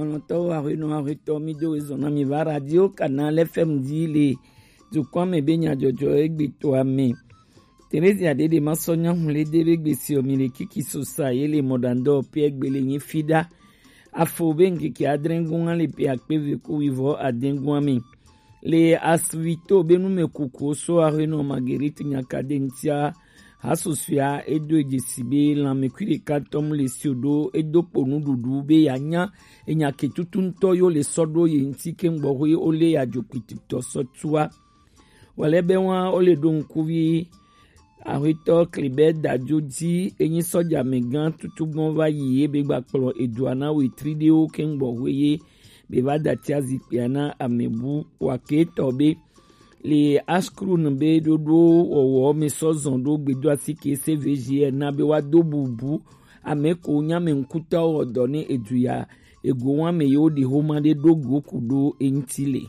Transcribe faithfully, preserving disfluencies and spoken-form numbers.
Lɔlɔ̃tɔwo, ahuenɔ ahuetɔ, mi do ezɔn na mi va Radio Canal F M dzi le dukɔa me be nyadzɔdzɔ egbe toa me. Teresia Dede ma sɔ nyahun le de be gbesi o mi le kiki sosa ye le mɔdandɔ pe egbe le nyi fi da. Afo be nkeke adre gun le pe akpe ve ku wivɔ aden gun mi. Le asvito be nu me kuku so ahuenɔ Marguerite Nyakade ntia. Hasusua edo edzesi be lãmekui ɖeka tɔ mu le sio ɖo edo kpo nuɖuɖu be yeanya enya ke tutu ŋutɔ yo le sɔ ɖo ye ŋuti ke ŋgbɔxoe wo le ya dzo kpititɔ sɔ tua. Wale be wa wo le ɖo ŋkuvi ahuetɔ Klebert Dadzo dzi enyi sɔja megã tutugbɔn va yi ye be gba kplɔ edua na wetri ɖewo ke ŋgbɔxoe ye be va datia zikpuia na amebu wa ke tɔ be le askrun be ɖoɖo wɔwɔ me sɔ zɔn ɖo gbedo asi ke se veji ena be wa do bubu ame ko nya me ŋkutɔwo wɔ dɔ ne edu ya ego wa me yewo ɖi homa ɖe ɖo go ku ɖo eŋuti le.